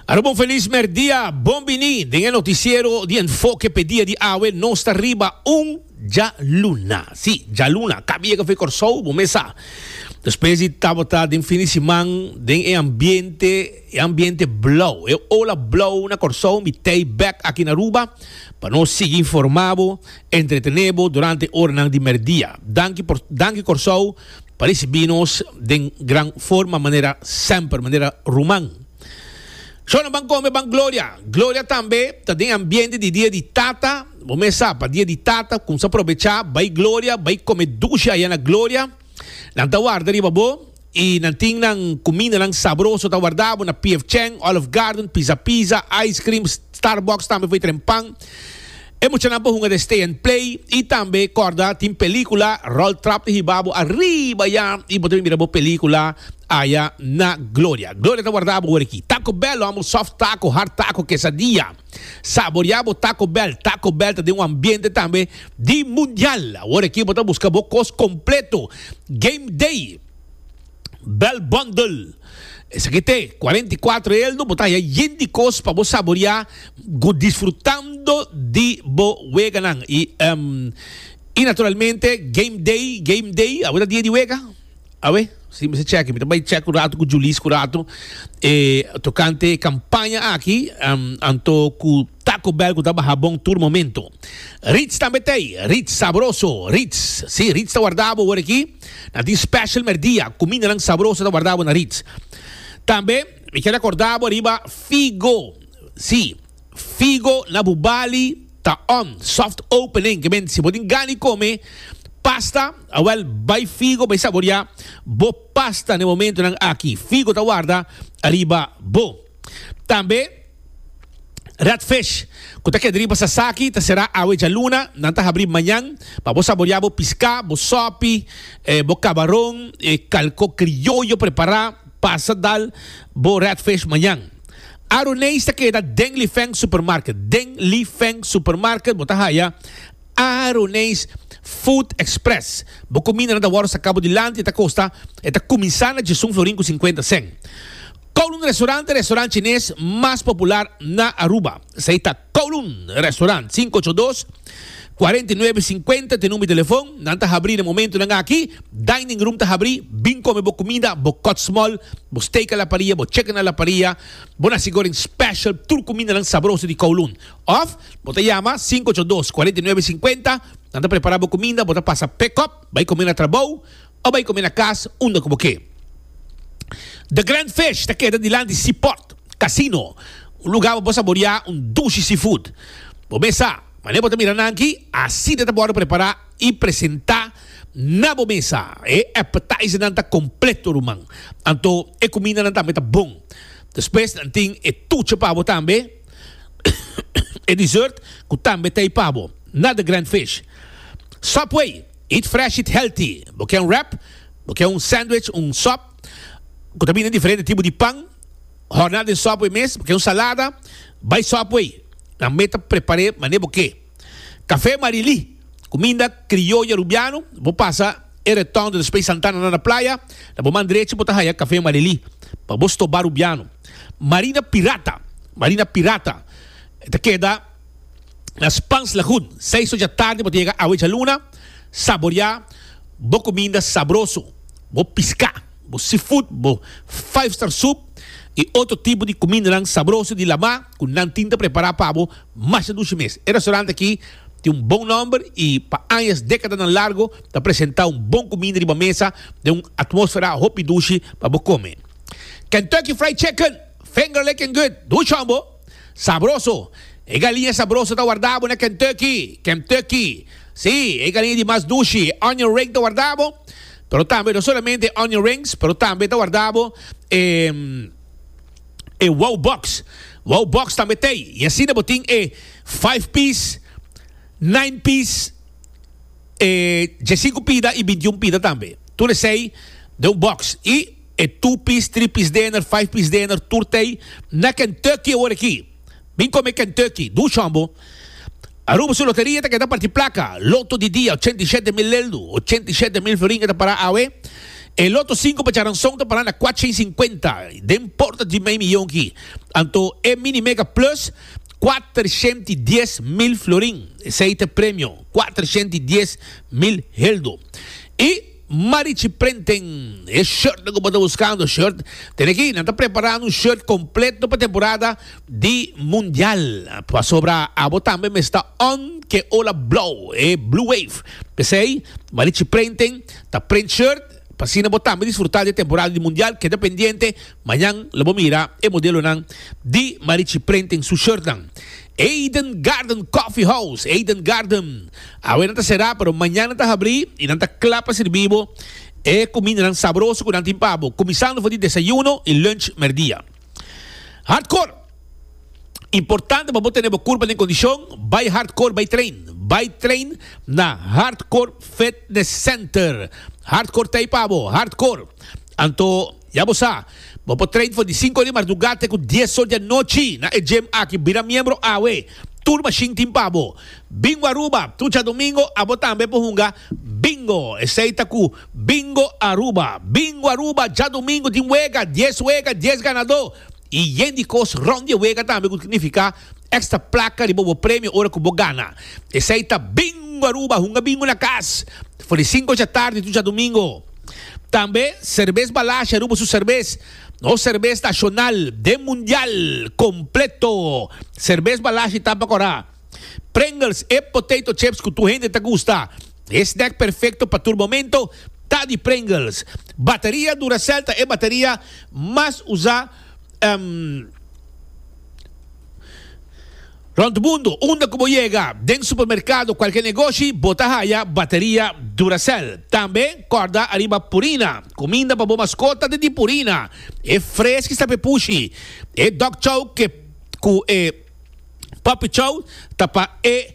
Aruba un felis merdia, bon bini den e noticiero di Enfoke p'e dia di awe. Nos ta riba un djaluna, si, djaluna, kabi yega for Kòrsou, bo mes sa. Despues di tabata den fin di siman den e ambiente, e ambiente blou, e ola blou na Kòrsou, mi tei bèk aki na Aruba pa nos sigui informá bo, entretené bo durante oranan di merdia. Danki por, danki Kòrsou pa risibí nos den gran forma manera semper, manera ruman. Shona ban kome ban Gloria. Gloria tambe ta den ambiente di dia di tata. Bo mes sa pa dia di tata kumsa probechá bai Gloria bai kome dushi aya na Gloria. Nan ta warda riba bo i nan tin nan kumindanan sabroso ta warda bo na PF Chang, Olive Garden, Pizza Pizza, Ice Cream, Starbucks tambe for tren pan. E muchanan por hunga den Stay and Play i tambe kòrda tin pelíkula Ròl Trap ta hiba bo ariba ya i bo ta bin mira bo pelíkula aya na Gloria. Gloria ta warda bo ora aki. Taco Bell lo amo soft taco, hard taco, quesadilla. Saborea bo Taco Bell. Taco Bell ta den un ambiente tambe di mundial. Awor aki bo ta buska bo kos kompleto. Game Day. Bell Bundle. Esaki te 44 eldo bo ta haya yen di kos pa bo saborea gu disfrutando di bo weganan. I um, i naturalmente Game Day, Game Day, awe ta dia di wega? Awe? Si mi sa check, mi ta bai check un rato ku Julis ku rato e tokante e kampaña aki um, anto ku Taco Bell ku ta baha bon tur momento. Ritz tambe t'ei, Ritz sabroso, Ritz, si Ritz ta warda bo awor aki. Nan tin special merdia, cumindanan sabroso ta warda bo na Ritz. Tambe mi kier acorda bo riba Figo. Si, Figo na Bubali ta on, soft opening. Ke men si bo tin gana di come pasta, awel bay Figo bay saboria bo pasta na e momentonan aki. Figo ta warda riba bo. Tambe. Red Fish, ku ta keda riba Sasaki, ta será awe djaluna. Nan ta habrí mañan pa bo saboriá bo piská, bo sòpi, bo kabaron, e kalko krioyo prepará. Pasa dal bo Red Fish mañan. Aroneis ta keda den Li Feng Supermarket. Den Li Feng Supermarket bo ta haya Aroneis Food Express. Bo kumindanan ta wòrdu saká bo dilanti, e ta kosta, e ta kuminsá na djesun florin ku sinkuenta sèn. Kowloon Restaurant ta e restaurant chines mas popular na Aruba. Esei ta Kowloon Restaurant, 582, 49 50 ta e number di telefon. Nan ta habri na momentonan aki. Dining room ta habri. Bin come bo cuminda, bo cut small, bo steak a la parilla, bo chicken a la parilla, bo nasi goreng special, tur cumindanan sabroso di Kowloon. Of bo ta yama 582, 49 50, nan ta prepara bo cuminda, bo ta pasa pick up, bai come na trabou. O bai come na cas unda cu bo ke. The Grand Fish ta keda dilanti Seaport Casino, un lugar pa bo saborea un dushi seafood. Bo mesa, manera bo ta mira nan aki, asina ta wordo prepara y presenta na bo mesa. E appetizernan ta completo ruman. Anto e cumindanan tambe ta bon. Despues nan tin e tuche pa bo tambe, e dessert cu tambe ta ey pa bo na The Grand Fish. Subway. Eat fresh, eat healthy. Bo ke un wrap, bo ke un sandwich, un sop ku ta bini diferente tipo di pan, hòrná den Subway mes, bo ke un salada, bai Subway. Nan mes ta prepar'é manera bo ke. Café Marily, kuminda krioyo arubiano, bo pasa e retondo despues Santana na na playa, na bo man drechi bo ta haya Café Marily pa bo stoba arubiano. Marina Pirata, Marina Pirata, e ta keda. Na Spans Lagoon, seis or dja tardi bo ta yega awe djaluna, saborea bo kuminda sabroso, bo piská, bo seafood, bo five star soup i otro tipo di kumindanan sabroso di lamá ku nan tin ta prepará pa bo masha dushi mes. E restaurant aki tin un bon nòmber i pa añas, dékadanan largo ta presentá un bon kuminda riba mesa den un atmósfera hopi dushi pa bo kome. Kentucky Fried Chicken, finger licking good, dushi hombo! Sabroso! E galiña sabroso ta warda bo na Kentucky! Kentucky! Sí, e galiña di mas dushi, e onion ring ta warda bo, pero tambe no solamente e onion rings, pero tambe ta warda bo e e wow box. Wow box tambe t'ei. I asina bo tin e five piece, nine piece, e diesinku pida i bintiun pida tambe. Tur esei den un box. I. E two piece, three piece dinner, five piece dinner, tur t'ei na Kentucky awor aki. Bin come Kentucky, dushi hombo. Aruba su loteria ta keda parti placa. Loto di dia, 87 mil leldu, 87 mil florin e ta para awe. E loto sinku pa djaranson ta pará na 450, den porta di mei miyon ki. Anto e Mini Mega Plus 410,000 florin. Esei ta e premio, 410,000 heldo. I Marichi Printing, e shirtnan ku bo ta buskando, shirt, tene aki, nan ta preparando un shirt kompleto pa temporada di Mundial. Pasobra abo tambe mester ta on ke ola blou, e blue wave. P'esei, Marichi Printing ta print shirt pa asina bo tambe disfruta di e temporada di Mundial. Keda pendiente, mañan lo bo mira e modelonan di Marichi Printing su shirtnan. Eden Garden Coffee House, Eden Garden, awe nan ta será pero mañan nan ta habrí i nan ta kla pa sirbi bo e kumindanan sabroso ku nan tin pa bo, kuminsando for di desayuno i lunch mèrdia. Hardcore! Importante pa bo tene bo kurpa den kondishon, bai Hardcore bai train. Bai train na Hardcore Fitness Center. Hardcore ta ei pa bo, Hardcore. Anto ya bo sa, bo por train for di sinku or di mardugá te ku dies or di anochi na e gym aki. Bira miembro awe. Tur mashin tin pa bo. Bingo Aruba, tur djadumingo abo tambe por hunga bingo. Esei ta ku Bingo Aruba. Bingo Aruba djadumingo tin wega, dies wega, dies ganadó. I yen di kos rond di e wega tambe ku signifiká èkstra plaka riba bo premio ora ku bo gana. Esei ta Bingo Aruba! Hunga bingo na kas for di sinku djatardi tur djadumingo. Tambe Serbes Balashi Aruba su serbes, nos serbes nashonal den mundial kompleto. Serbes Balashi ta pa kòrá. Pringles, e potato chips ku tur hende ta gusta. E snack perfecto pa tur momento ta di Pringles. Bateria Duracell ta e bateria mas usa rond mundo. Unda cu bo yega, den supermercado, cualkier negoshi, bo ta haya bateria Duracell. Tambe corda ariba Purina, cuminda pa bo mascota ta di Purina. E freschi sta p'e pushi. E dog chow cu e. Puppy Chow ta pa e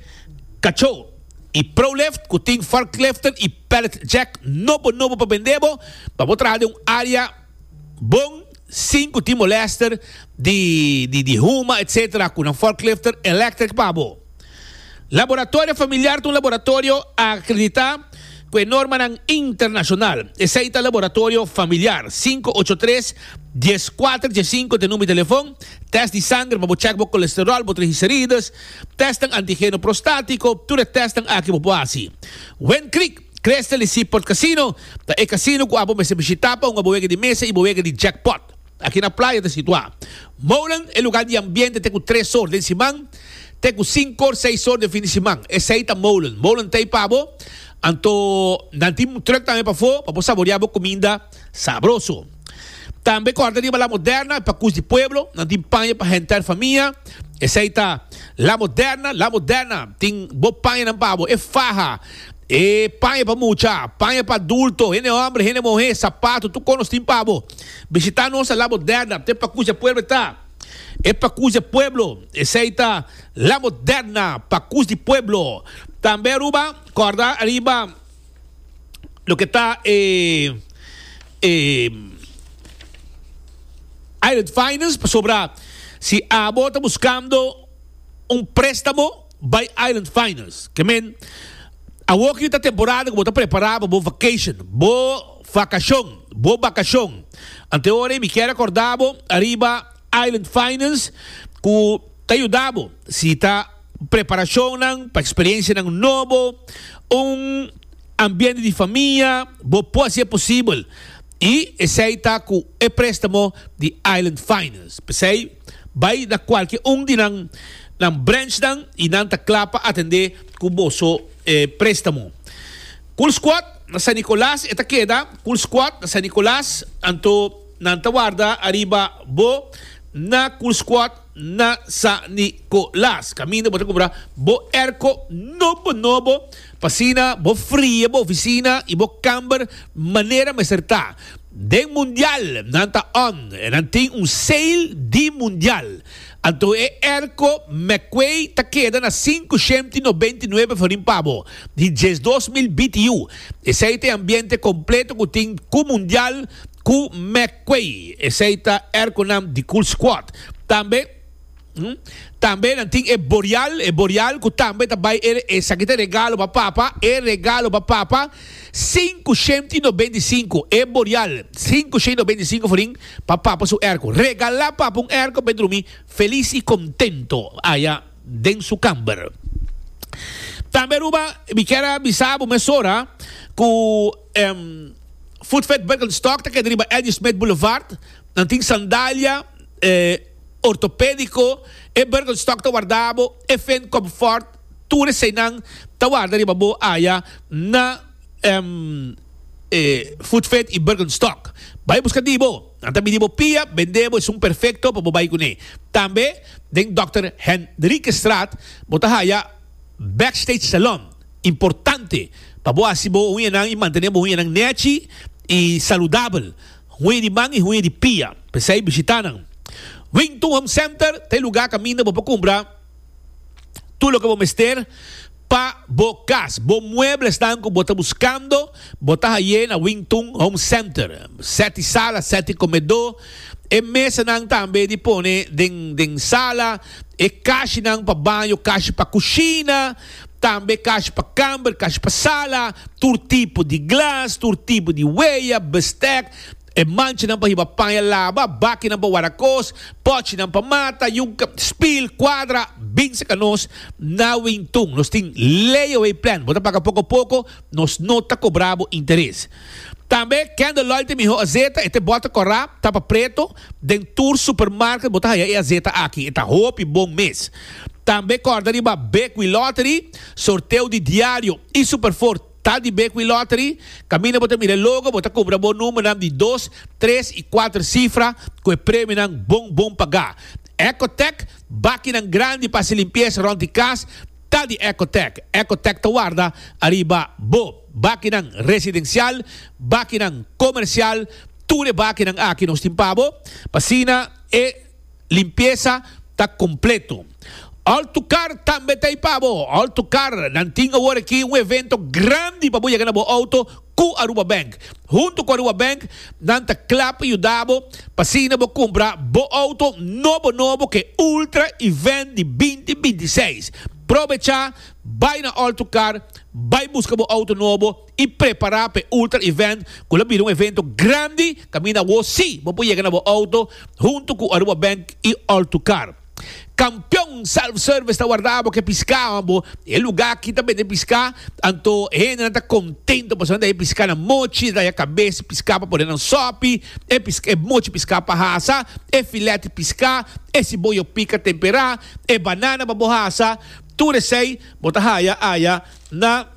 kachó. I Prolift ku tin forkliften i pallet jack nobo nobo pa bende bo, pa bo traha den un área bon sin ku tin molèster di di huma etsetera ku nan forklifter electric pa bo. Laboratorio Familiar ta un laboratorio akreditá ku e normanan internashonal. Esei ta Laboratorio Familiar. 583 14 15 ta e number di telefon. Test di sanger pa bo check bo kolesterol, bo triglicerides, testnan antigeno prostátiko, tur e testnan aki bo por hasi. Wind Creek, Crystal i Seaport Casino ta e kasino ku abo mester bishitá pa hunga bo wega di mesa i bo wega di jackpot. Aki na playa ta situá. Molen, e lugar di ambiente te ku tres or den siman, te ku sinku or, seis or den fin di siman. Esei ta Molen. Molen ta ei pa bo, anto nan tin un truck tambe pafó pa bo saboreá bo kuminda sabroso. Tambe kòrda riba La Moderna, e pakus di pueblo, nan tin paña pa henter famia. Esei ta La Moderna, La Moderna tin bo pañanan pa bo, e faha, e paña pa mucha, paña pa adulto, hende hòmber, hende muhé, sapato, tur kos nos tin pa bo. Bishitá nos na La Moderna, te pakus di pueblo ta. E pakus di pueblo, esei ta La Moderna, pakus di pueblo. Tambe Aruba, kòrda riba loke ta e e Island Finance, pasobra si abo ta buskando un préstamo, bai Island Finance. Ke men, awor ki ta temporada ku bo ta prepará pa bo vacation, bo vakashon, bo bakashon. Ante ora ei mi kier akorda bo ariba Island Finance ku ta yuda bo si ta preparashonnan pa eksperensianan nobo, un ambiente di famia, bo por hasi e posibel. I esei ta ku e préstamo di Island Finance. P'esei bai na kualke un di nan nan branchnan i nan ta kla pa atendé ku boso préstamo. Cool Squad na San Nicolas e ta keda, Cool Squad na San Nicolas, anto nan ta warda ariba bo na Cool Squad na San Nicolas. Kaminda bo ta kumpra bo airco nobo nobo pa asina bo fria bo oficina y bo kamber manera mester ta. Den mundial nan ta on en nan tin un sale di mundial. Anto e airco McQuay ta keda na 599 florin pa bo di 12,000 BTU. Esey ta e ambiente completo cu tin cu mundial cu McQuay. Esey ta airconan di Cool Squad. Tambe. Tambe nan tin e borial, e borial ku tambe ta bai e esaki ta e regalo pa papa, e regalo pa papa, 595, e borial, 595 florin pa papa su airco. Regalá papa un airco pa e drumi felis i kontento aya den su kamber. Tambe Aruba, mi kier a bisa bo mesora ku Foodfed Birkenstock ta keda riba Eddie Smith Boulevard. Nan tin sandalia ortopedico, e Birkenstock ta warda bo, e Finn Comfort, tur eseinan ta warda riba bo aya na Foodfed y Birkenstock. Bai busca di bo, nan ta midi bo pia, bende bo esun perfecto pa bo bai cune. Tambe den Dòkter Hendrikestraat bo ta haya Backstage Salon. Importante pa bo hasi bo huñanan y mantene bo huñanan nechi y saludabel. Huña di man y huña di pia. P'esei bishita nan. Wington Home Center ta e lugar caminda bo por cumpra tur loke bo mester pa bo cas. Bo mueblesnan cu bo ta buscando, bo ta haye na Wington Home Center. Set di sala, set di comedor, e mesanan tambe di pone den den sala, e kashinan pa baño, kashi pa cushina. Tambe kashi pa kamber, kashi pa sala, tur tipo di glas, tur tipo di weya, bestek, e manchanan pa hiba paña laba, bakinan pa warda kos, pòchinan pa mata, yunka, spil, kuadra, bin saka nos na Wintun. Nos tin layaway plan, bo ta paga poko poko, nos no ta kobra bo interes. Tambe Candle Oil ta e mihó azeta, e ta e bòter kòrá, tapa preto, den tur supermarket bo ta haya e azeta aki, e ta hopi bon mes. Tambe kòrda riba Bekwee Lottery, sorteo di diario y Superfour ta di Bekwee Lottery. Kaminda bo ta mira e logo, bo ta kumpra bo numbernan di dos, tres y kuater sifra ku e premionan bon bon pagá. Ecotec, bakinan grandi pa hasi limpiesa rònt di kas ta di Ecotec. Ecotec ta warda ariba bo bakinan residensial, bakinan komersial, tur e bakinan aki nos tin pa bo pa asina e. Limpiesa ta completo. Altocar tambe ta ei pa bo. Altocar, nan tin awor aki un evento grandi pa bo yega na bo auto cu Aruba Bank. Hunto cu Aruba Bank, nan ta cla pa yuda bo pa asina bo cumpra bo auto nobo nobo cu e Ultra Event di binti 26. Probecha, bay na Altocar, bay busca bo auto nobo. i prepará pa e Ultra Event ku lo bira un evento grandi kaminda awor sí bo por yega na bo outo huntu ku Aruba Bank i Altucar. Kampion Self Service ta warda bo ke piská bo e lugá aki ta bende piská anto hendenan ta kontento pasobra nan ta haña piská na mochi nan ta haña kabes di piská pa pone nan sòpi e e mochi piská pa hasa e filet di piská e siboyo pika temperá e banana pa bo hasa tur esei bo ta haya aya na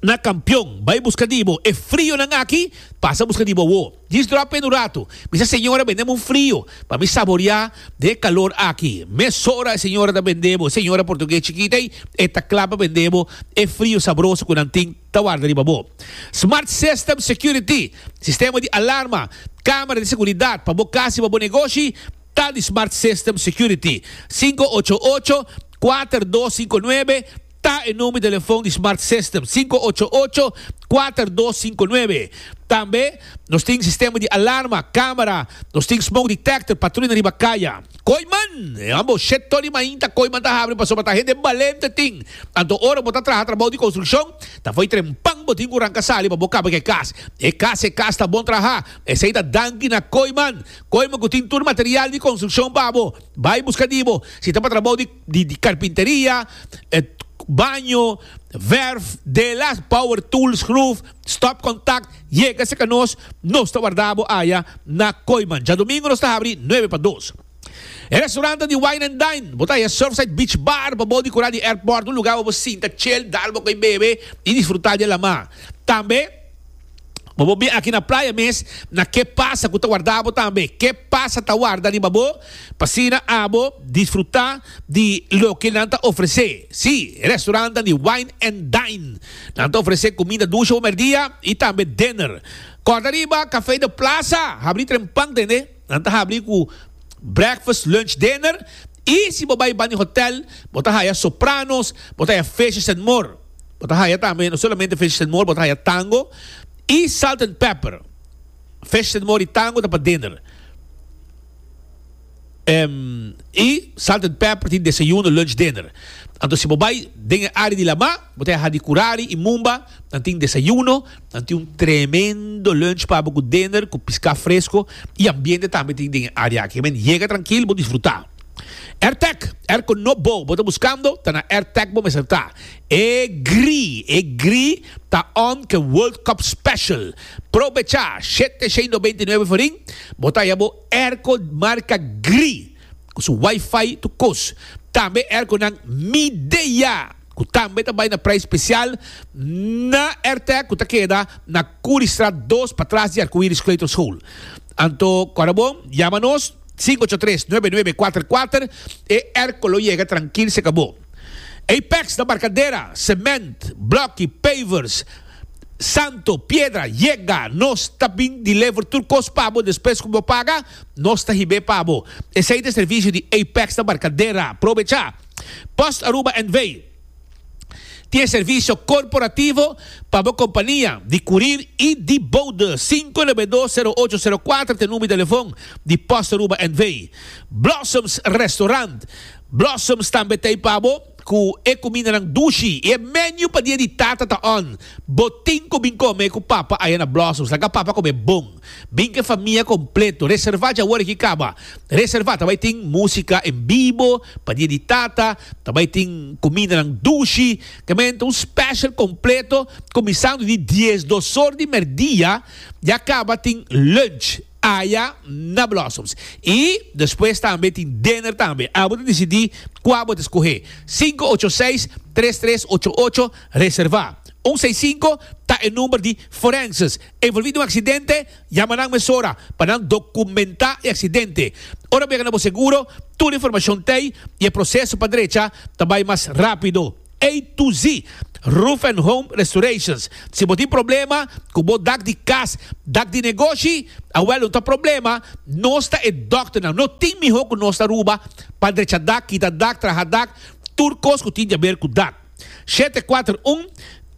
Na kampion, bai buska di bo. E frionan aki, pasa buska di bo awo. Djis drop in un ratu. Mi sa señora bende mi un frio pa mi saboria den e kalor aki. Mesora e señora ta bende bo, e señora portugues chikita ei, e ta kla pa bende bo e frio sabroso ku nan tin ta warda riba bo. Smart System Security, sistema di alarma, kamera di seguridat pa bo kas i pa bo negoshi, ta di Smart System Security. 588 4259. Ta e number di telefon di Smart System, 588 4259. Tambe nos tin sistema di alarma, camera, nos tin smoke detector, patruina riba caya. Kooiman! E homber shet tori mainta Kooiman ta habri pasobra ta hende balente tin. Anto ora bo ta traha trabou di construccion, ta fo'i trempan bo tin cu ranca sali pa bo caba cu e cas. E cas e cas ta bon traha. Esey ta danki na Kooiman. Kooiman cu tin tur material di construccion pa bo. Bay busca di bo. Si ta pa trabou di. di di carpinteria, baño, verf, delas, power tools, schroef, stopcontact, yega cerca nos, nos ta warda bo aya na Kooiman. Djadomingo nos ta habri nuebe pa dos. E restaurantnan di Wine and Dine, bo ta haya Surfside Beach Bar pa bo di cura di airport, un lugar pa bo sinta chill, dal bo coy bebe y disfruta di e lama. Tambe. Bo por bin aki na playa mes na ke pasa ku ta warda bo tambe. Ke pasa ta warda riba bo pa asina abo disfruta di loke nan ta ofrese. Si, e restaurantnan di Wine and Dine. Nan ta ofrese kuminda dushi bo merdia i tambe dinner. Kòrda riba Café de Plaza habri trempan tende. Nan ta habri ku breakfast, lunch, dinner i si bo bai bani hotel bo ta haya Sopranos, bo ta haya Fishes and More. Bo ta haya tambe no solamente fish and more, bo ta haya tango y salt and pepper. Fish and more y tango ta pa dinner. I Salt and Pepper tin desayuno, lunch, dinner. Anto si bo bai den e área di lamá, bo ta haha di Curari i Mumba, nan tin desayuno, nan tin un tremendo lunch pa bo ku dinner, ku piská fresko i ambiente tambe tin den e área aki. Men yega trankil, bo disfrutá. Airtec, airco nobo bo ta buskando, ta na Airtec bo mester ta. E gri, e gri ta on ke World Cup special. Probechá, 799 forin, bo ta haya bo Airco marca Gri cu su wifi tu cos. Tambe airconan Midea cu tambe ta bay na prijs special na Airtec cu ta keda na Curiestraat dos patras di Arcoiris Kleuterschool. Anto cora bon yama nos 583 9944 e airco lo yega trankil se cabo. Apex na Barcadera, cement, bloki, pavers, Santo, piedra, yega, nos ta bin deliver tur kos pa bo despues ku bo paga, nos ta hib'é pa bo. Esei ta e servisio di Apex na Barcadera. Probechá! Post Aruba NV. Tin e servisio korporativo pa bo kompania di kurir i di bode. 592-0804 ta e number di telefon di Post Aruba NV. Blossoms Restaurant. Blossoms tambe ta ei pa bo. Ku e kumindanan dushi i e menu pa dia di tata ta on. Bo tin ku bin kome ku papa aya na Blossoms. Laga papa kome bon. Bin ku e famia kompleto. Reserva dja awor aki kaba. Reserva. Ta bai tin musika en bibo pa dia di tata. Ta bai tin kumindanan dushi. Kamente un special kompleto kuminsando di diesdos or di merdia ya kaba tin lunch. Aya na Blossoms. I despues tambe tin dinner tambe. Abo ta disidí kua bo ta skohé. 586 3388 Reservá. Un seis sinku ta e number di Forenses. Envolví den un aksidente? Yama nan mesora pa nan dokumentá e aksidente. Ora bo yega na bo seguro, tur informashon t'ei i e proseso pa drecha ta bai mas rápido. A to Z, Roof and Home Restorations. Si bo tin problema ku bo dak di kas, dak di negoshi, awel no ta problema, nos ta e dòkternan. No tin mihó ku nos na Aruba pa drecha dak, kita dak, traha dak, tur kos ku tin di aber ku dak. 741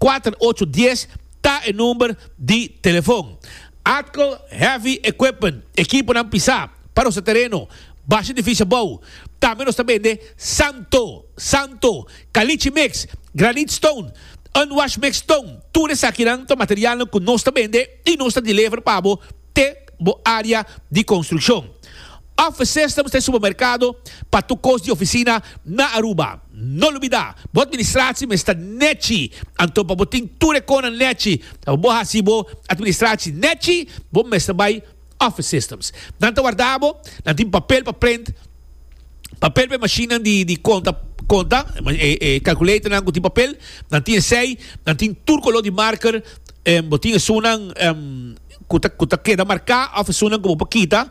4810 ta e number di telefon. Atco Heavy Equipment, ekiponan pisá pa nos tereno, basha edifisio abou. Tambe nos ta bende santo. Santo, Caliche Mix, Granite Stone, Unwash Mix Stone, tur esakinan ta materialnan ku nos ta bende i nos ta deliver pa bo te bo área di konstrukshon. Office Systems ta e supermerkado pa tur kos di ofisina na Aruba. No lubida, bo administratie mester ta nechi. Anto pa bo tin tur e konan nechi, pa bo hasi bo administratie nechi, bo mester bai Office Systems. Nan ta warda bo, nan tin papel pa print, papel pa e mashinnan di di konta konta, e e calculatornan ku tin papel, nan tin esei, nan tin tur koló di marker, bo tin esunnan ku ta ku ta keda marká òf esunnan ku bo por kita,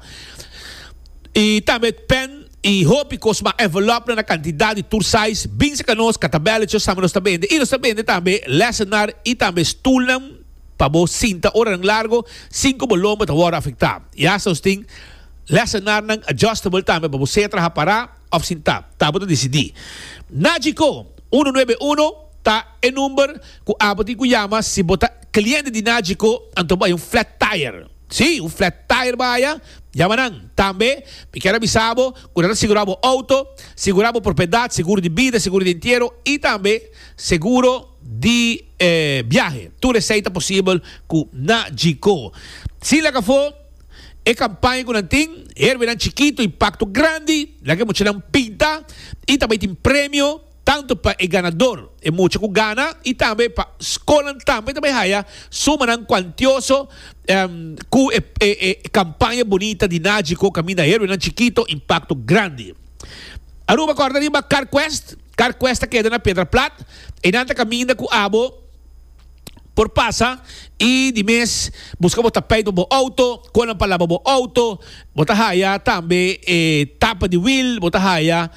i tambe pen i hopi kos mas, envelopnan na kantidat di tur size, bin serka nos, katabèlletjes tambe nos ta bende, i nos ta bende tambe lèsenar i tambe stulnan. Pa bo sinta oranan largo sin ku bo lomba ta wòrdu afektá. I asta nos tin lèsenarnan adjustable tambe pa bo sea traha pará òf sintá. Ta bo ta disidí. Nagico unu nuebe unu ta e number ku abo tin ku yama si bo ta kliente di Nagico anto bo hay un flat tire. Sí, un flat tire bo haya, yama nan. Tambe mi kier a bisa bo ku nan ta sigurá bo outo, sigurá bo propiedat, seguro di bida, seguro di entiero i tambe seguro di e biahe. Tur esei ta posibel ku Nagico. Sin laga afó e kampaña ku nan tin, Herbenan Chikito, Impakto Grandi, laga e muchanan pinta i ta bai tin premio tantu pa e ganador, e mucha ku gana, i tambe pa skolnan tambe ta bai haya sumanan kuantioso ku e e kampaña bunita di Nagico kaminda Herbenan Chikito, Impakto Grandi. Aruba kòrda riba CarQuest. Carquest ta keda na Piedra Plat. Einan ta kaminda ku abo por pasa i di mes buska bo tapijt pa bo outo, konan pa laba bo outo. Bo ta haya tambe e tapa di wiel, bo ta haya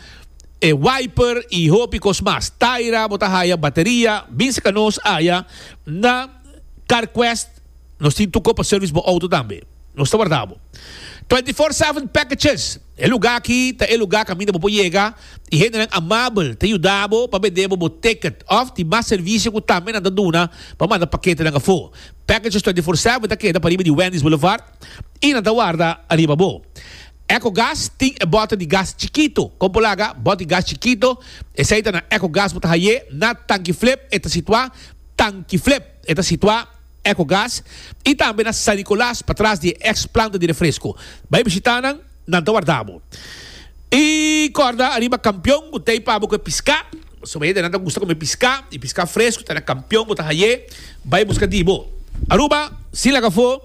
e wiper i hopi kos mas. Taira, bo ta haya bateria. Bin saka nos aya na Carquest. Nos tin tur kos pa service bo outo tambe. Nos ta warda bo. 24/7 Packages, E lugá aki ta e lugá kaminda bo por yega i hendenan amabel ta yuda bo pa bende bo bo ticket òf tin mas servisio ku tambe nan ta duna pa manda paketenan afó. Packages 24/7 ta keda pariba di Wendy's Boulevard i nan ta warda ariba bo. Ecogas tin e bòter di gas chikito. Kon por laga bòter di gas chikito? Esei ta na Ecogas bo ta haye na Tanki Flip e ta situá Tanki Flip e ta situá Ecogas i tambe na San Nicolas patras di e ex planta di refresco. Bai bishita nan, nan ta warda bo. I kòrda ariba Kampion ku t'ei pa bo ku e piská. Pasobra hende nan ta gusta kome piská i piská fresku ta na Kampion bo ta haye. Bai buska di bo. Aruba sin laga afó.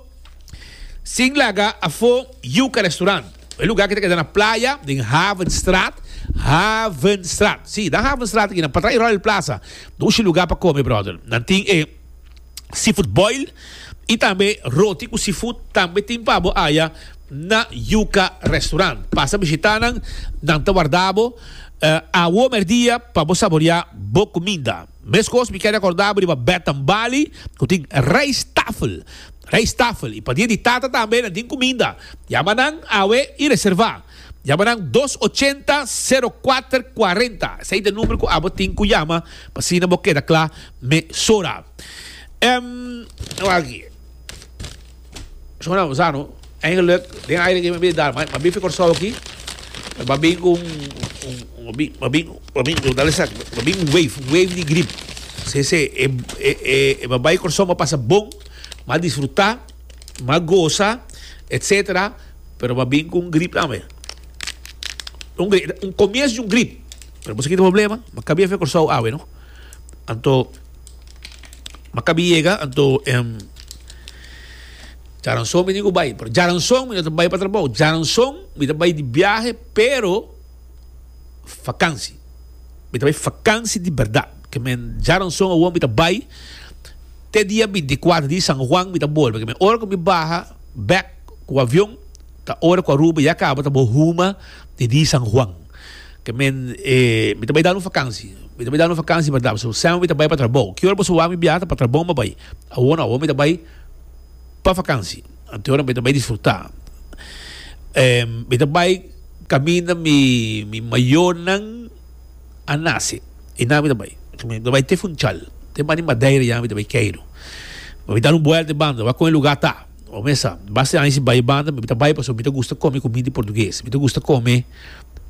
Sin laga afó Yuca Restaurant, e lugar ki ta keda na playa den Havenstraat, Havenstraat, sí, na Havenstraat aki na patras di Royal Plaza, dushi lugar pa come brother. Nan tin e seafood boil y tambe roti cu seafood tambe tin pa bo aya na Yuca Restaurant. Pasa bishita nan, nan ta warda bo awo merdia pa bo saborea bo cuminda. Mescos mi kier recorda bo riba Bed and Bali cu tin rijsttafel. Rijsttafel y pa dia di tata tambe nan tin cuminda. Yama nan awe y reserva. Yama nan dos ochenta sero kuater kuarenta. Esey ta e number cu abo tin cu yama pa asina bo keda cla mesora. Em, wak aki. Shona, bo sa no, eigenlijk den aire aki mi a bin dar, ma bin fi Kòrsou aki, ma bin ku un, un, ma bin, ma bin, ma bin, dale sa, ma bin un wave, un wave di grip. Se, se, e, e, e, e ma bai Kòrsou, ma pasa bon, ma disfrutá, ma gosa, etcetera, pero ma bin ku un grip tambe. Un grip, un komienso di un grip. Pero bo sa ki ta problema? Ma kabia fi Kòrsou awe, no? Anto. Ma kabi yega anto em djaranson mi tin ku bai pero djaranson mi no ta bai pa trabou djaranson mi ta bai di biahe pero fakansi mi ta bai fakansi di bèrdat ke men djaranson awor mi ta bai te dia binti kuater di San Juan mi ta bolbe ke men ora ku mi baha bèk ku avion ta ora ku Aruba ya kaba ta bo huma di di San Juan. Ke men e mi ta bai dal un fakansi. Mi ta bai dal un fakansi berdad. Pasobra semper mi ta bai pa trabou. Ki ora boso wak mi biaha ta pa trabou mi a bai. Awor no, awor mi ta bai pa fakansi. Anto ora mi ta bai disfruta. E mi ta bai kaminda mi mi mayornan a nase. Einan mi ta bai. Mi ta bai te Funchal. Te banda di Madeira ya mi ta bai keiru. Mi bai dal un buelta e banda. Wak kon e lugar ta. Bo mesa, basta aña si bai banda, mi ta bai pasobra mi ta gusta come comida di portugues. Mi ta gusta come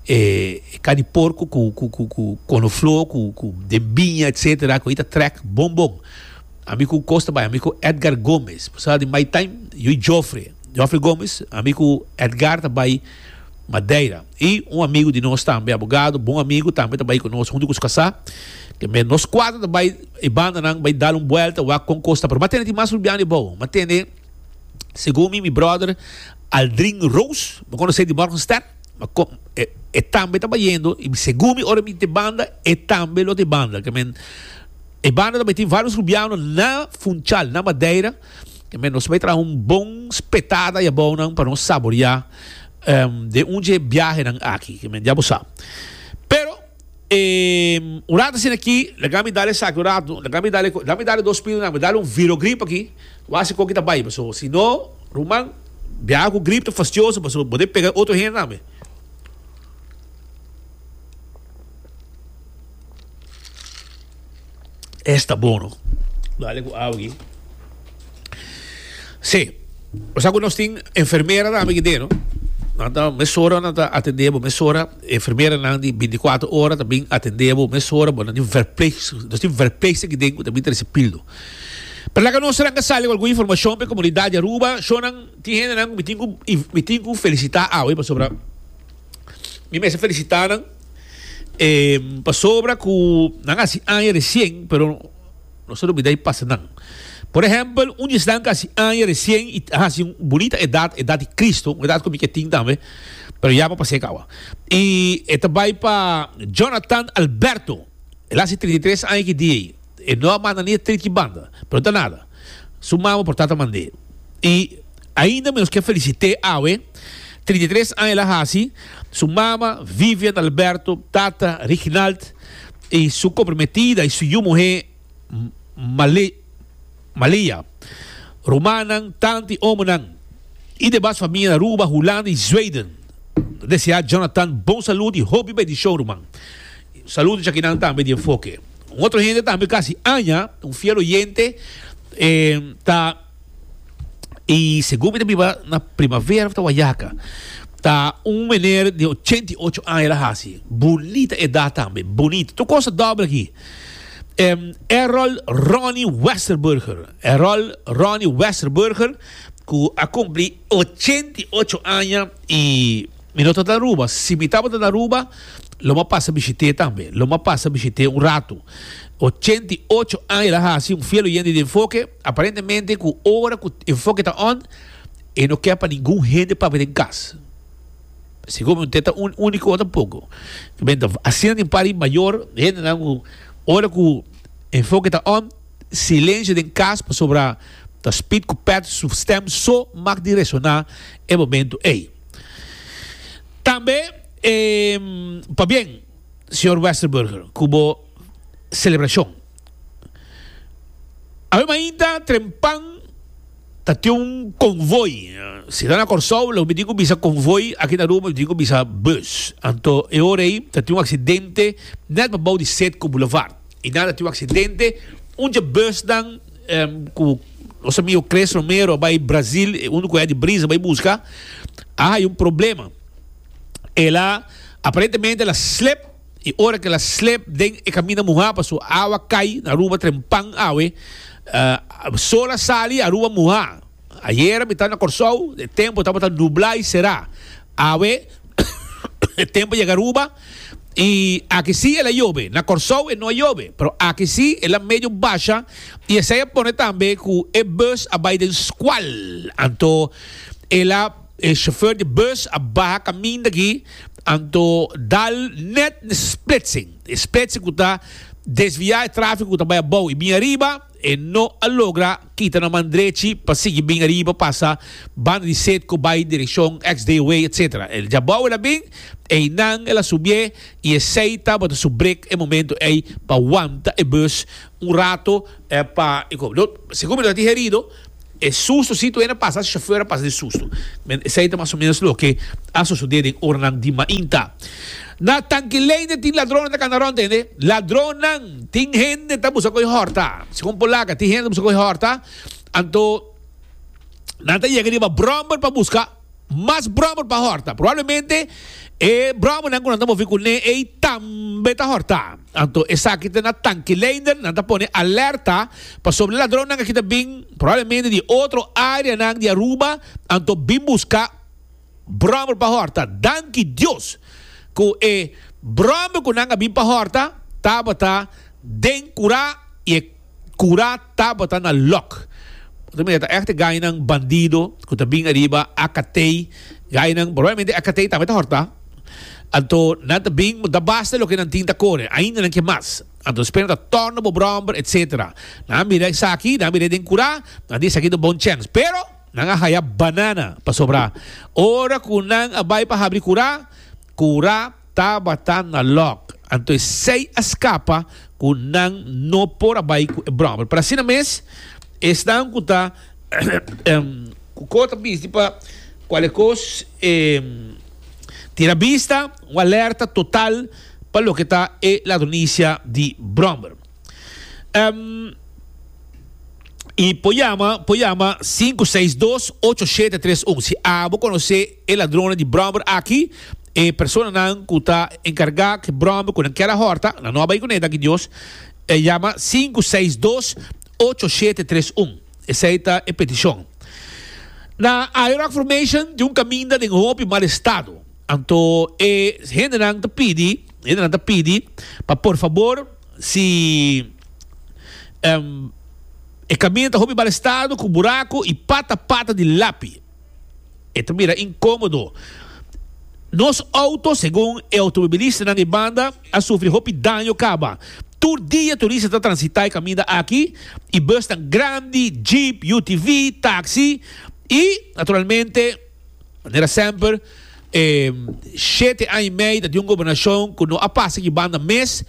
e carni porco cu cu cu cu conoflor cu cu den biña etcetera cu ei ta trek bon bon. Ami cu cos ta bai, ami cu Edgar Gomez, bo sa di my time, yu Joffrey, Joffrey Gomez, ami cu Edgar ta bai Madeira. Y un amigo di nos tambe, abogado, bon amigo tambe ta bai cu nos hunto cu su casa. Ke men nos cuatro ta bai e bandanan bai dal un buelta wak con cos ta. Pero m'a tene tin mas rubiano di bou. M'a tene, segun mi, mi brother Aldrin Roos, bo conoce di Morgenster, ma con, e, e tambe ta bayendo y segun mi ora mi te banda, e tambe lo te banda. Ke men e banda ta bai tin varios rubiano na Funchal, na Madeira. Ke men nos bai traha un bon spetada y abounan pa nos saborea den un dje biahenan aki, ke men ya bo sa. Pero, un rato asina aki, laga mi dal esaki un rato, laga mi dal, laga mi dal e dos pilnan, mi dal un virogrip aki, wak si kon ki ta bai, pasobra si no, ruman, biaha ku grip ta fastioso, pasobra bo ta pega otro hende tambe. Esta bon no. Dale ku awa aki. Sí. O sa ku nos tin enfermera tambe aki den no. Nan ta mesora nan ta atende bo mesora. Enfermeranan di bintikuater ora ta bin atende bo mesora. Bo nan tin verpleeg, nos tin verpleegster aki den ku ta bin trese pildo. Pero laga nos ranka sali ku algun informashon pa e komunidat di Aruba. Shownan tin hendenan ku mi tin ku mi tin ku felisitá awe pasobra mi mester felisitá nan. E pasobra ku nan hasi aña resien, pero nos a lubida i pasa nan. Por ehèmpel, un di esnan ku hasi aña resien i a hasi un bunita edat, edat di Kristu, un edat ku mi ke tin tambe, pero ya pa pas'é kaba. I e ta bai pa Jonathan Alberto. El a hasi 33 aña ki dia ei. E no a manda ni e triki banda, pero no ta nada. Su mama por tata mand'é. I ainda mi nos ke felisit'é awe, 33 aña el a hasi, su mama Vivian Alberto, tata Riginald i su komprometida i su yu muhé Male Malia, rumannan, tanta i omonan i demas famia na Aruba, Hulanda i Zweden. Ta deseá Jonathan bon salud i hopi bendishon ruman. Saludo djakinan tambe di Enfoke. Un otro hende tambe casi aña, un fiel oyente, eh, ta y segun mi ta biba na Primavera of ta Wayaca. Ta un meneer di 88 aña el a hasi. Bunita edad tambe, bunita. Tur cos ta dobbel aki. Errol Ronnie Westerburger. Errol Ronnie Westerburger cu a cumpli 88 aña y mi no ta na Aruba. Si mi tabata na Aruba lo mi a pasa bishit'é tambe. Lo mi a pasa bishit'é un rato. 88 aña el a hasi, un fiel oyente di Enfoke. Aparentemente cu ora cu Enfoke ta on, e no kier pa ningun hende papia den cas. Segun mi, te ta un unico tampoco. Asina tin par di mayor hendenan cu ora cu Enfoke ta on, silencio den cas pasobra ta Speed cu Pat su stem so mag di resona e momento ey. Tambe pabien señor Westerburger cu bo celebracion. Awe mainta trempan ta tin un konvoi. Si ta na Kòrsou lo mi tin ku bisa konvoi, aki na Aruba mi tin ku bisa bus. Anto e ora ei ta tin un aksidente nèt pabou di Setco Boulevard. I nan ta tin un aksidente, un dje busnan ku nos amigo Chris Romero a bai Brazil, e unu ku Eddie Briz a bai buska, a haña un problema. El a aparentemente el a slip. I ora ku el a slep den e kaminda muhá paso awa kai na Aruba trempan awe, sol a sali Aruba muhá. Ayera mi ta na Kòrsou, e tempu tabata nublá i será. Awe e tempu a yega Aruba i aki sí el a yobe. Na Kòrsou e no a yobe, pero aki sí el a medio basha i esei a pone tambe ku e bus a bai den skual. Anto el a e shofèr di bus a baha kaminda aki. Anto dal net n'e splitsing. E splitsing ku ta desviá e tráfiko ku ta bai abou i bin ariba, e no a logra kita na man drechi pa sigui bin ariba pasa banda di Setco bai direkshon XDW etc. El djabou el a bin, einan el a subié i esei tabata su brek e momento ei pa wanta e bus un rato pa e Segun mi no ta tin herido. E susto si tu hende pasa, chauffeur a pasa di susto. Men esei ta mas o menos loke a sosode den oranan di mainta. Na Tankileine tin ladronnan ta kanda rond hende. Ladronnan! Tin hende ta buska koe horta. Segun Polaka tin hende ta buska koe horta. Anto nan ta yega riba brommer pa buska. Mas bròmer pa hòrta. Probablemente e bròmernan ku nan ta movi kuné ei tambe ta hòrta. Anto esaki ta na Tankileinder, nan ta pone alerta pasobra e ladronnan aki ta bin probablemente di otro areanan di Aruba, anto bin buska bròmer pa hòrta. Danki Dios ku e bròmer ku nan a bin pa hòrta tabata den kurá i e. Cura tabata na lok. Bo ta mira ta echt e gainan bandido cu ta bin ariba AKT. Gainan, probablemente AKT tambe ta horta. Anto nan ta bin, ta basta loke nan tin ta core. Ainda nan ke mas. Anto despues nan ta torna bo bromber, etc. Nan a mira esaki, nan a mira den cura, nan di esaki ta un bon chens. Pero nan a haya banana pasobra ora cu nan a bay pa habri cura, cura. Tabata na lòk, anto esei a skapa ku nan no por a bai ku e bròmer. Pero asina mes, esnan ku ta ku ko ta bisti pa kualke kos tira bista, un alerta total pa loke ta e ladronisia di bròmer. I por yama, por yama 562 8731 si abo konosé e ladronnan di bròmer aki, e personanan ku ta enkargá ku e bròmer ku nan kier a hòrta, nan no a bai kuné, danki Dios, e yama 562 8731. Esei ta e petishon. Na Ayo Rock Formation tin un kaminda den hopi mal estado. Anto e hendenan ta pidi, hendenan ta pidi pa por fabor si e kaminda ta hopi mal estado ku buraku i pata pata di lapi. E ta bira inkomodo. Nos outo, segun e outomobilistanan di banda, a sufri hopi daño kaba. Tur dia turista ta transitá e kaminda aki i busnan grandi, jeep, UTV, taksi i naturalmente, Manera semper, e shete aña i mei ta tin un gobernashon ku no a pasa ki banda mes.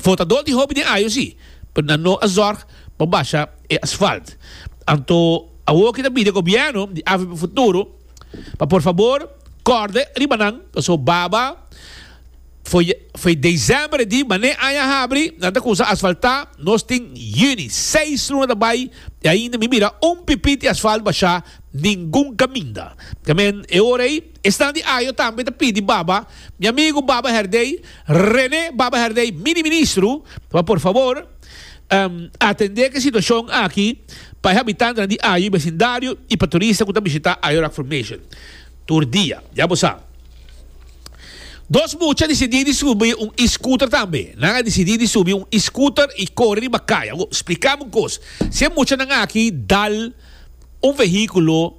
Votador tin hopi den ayo si, pero nan no a zorg pa basha e asfalt. Anto awor ki ta pidi e gobièrnu di avp Futuro pa por fabor kòrda riba nan, pasobra baba Foi foi december e di mane aña habri nan ta cusa asfalta nos tin juni seis luna ta bay y ainda mi mira un pipit di asfalt basha ningun caminda. Tamen e ora ey Esnan di Ayo tambe ta pidi Baba, mi amigo Baba Herdey, Rene Baba Herdey, mini ministro, pa por favor atende ku e situashon aki pa e habitantenan di Ayo i besindario i pa turista ku ta bishita Ayo Rock Formation tur dia. Ya bo sa. Dos mucha disidí di subi un e-scooter tambe. Nan a disidí di subi un e-scooter i kore riba kaya. Awor, spliká mi un kos. Si e muchanan aki dal un vehíkulo,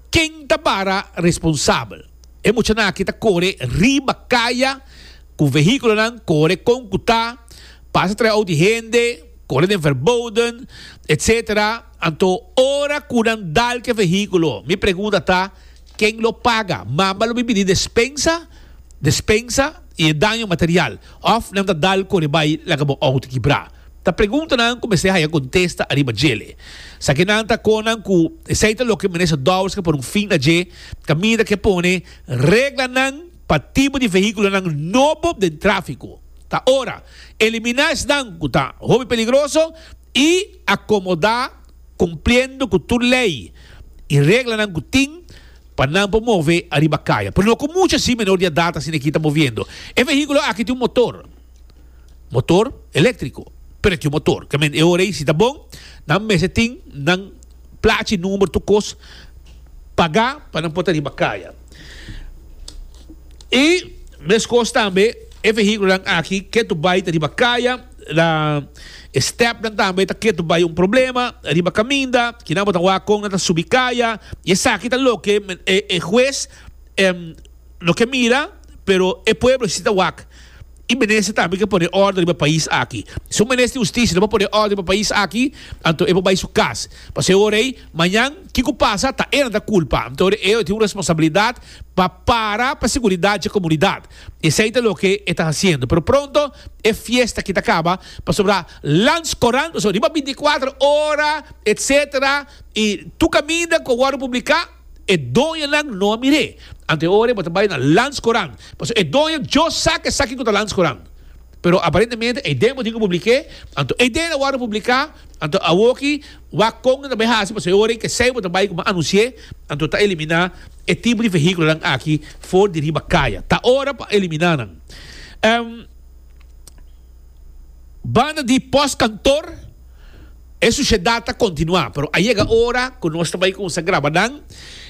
ken ta para responsabel? E muchanan aki ta kore riba kaya ku vehíkulonan, kore kon ku ta, pasa trae out di hende, kore den verboden, etcetera. Anto ora ku nan dal ku e vehíkulo, mi pregunta ta, Ken lo paga? Mama lo bin pidi despensa, despensa i e daño material, òf nan ta dal kore bai laga bo outo kibrá? Ta preguntanan ku mester haya kontesta ariba djele. Sakinan ta konan ku esei ta loke Minister Dowers ke pone un fin na dje, kaminda ke pone reglanan pa tipo di vehíkulonan nobo den tráfiko. Ta ora eliminá esnan ku ta hopi peligroso i akomodá Cumpliendo cu tur ley y reglanan cu tin pa nan por move ariba caya. Pero no cu mucho así menor di edad asina aki ta moviendo. E vehiculo aki tin un motor. Motor electrico. Pero e tin un motor. Ke men e ora ey si ta bon, nan mester tin nan plachi, number, tur cos paga pa nan por ta riba caya. Y mescos tambe e vehiculonan aki ke tu bay ta riba caya. Na e stepnan tambe ta ketu bai un problema riba kaminda, kinan bo ta wak kon nan ta subi kaya, i esaki ta loke e hues no ke mira, pero e pueblo si ta wak. I minister tambe ke pone orde riba pais aki. Si un minister di hustisia no por pone orde riba pais aki, anto e por bai su kas. Pasobra e ora ei, mañan kiko pasa ta e nan ta kulpa. Anto e tin un responsabilidat pa para pa seguridat dje komunidat. Esei ta loke e ta hasiendo. Pero pronto e fiesta aki ta kaba, pasobra Landscourant, pasobra riba binticuater ora, etcetera, i tur kaminda ku a wòrdu publiká, e doñonan no a mir'é. Anto e ora bo ta bai na Landscourant, pasobra e doño djo sa ku esaki ku ta Landscourant. Pero aparentemente e den bo tin ku publik'é, anto e den a wòrdu publiká, anto awoki wak kon nan ta bai hasi, pasobra e ora ei kesei bo ta bai ku bo anunsi'é, anto ta eliminá e tipo di vehíkulonan aki for di riba kaya. Ta ora pa eliminá nan. Banda di postkantor e sushedat ta kontinuá, pero a yega ora ku nos ta bai kuminsá graba nan.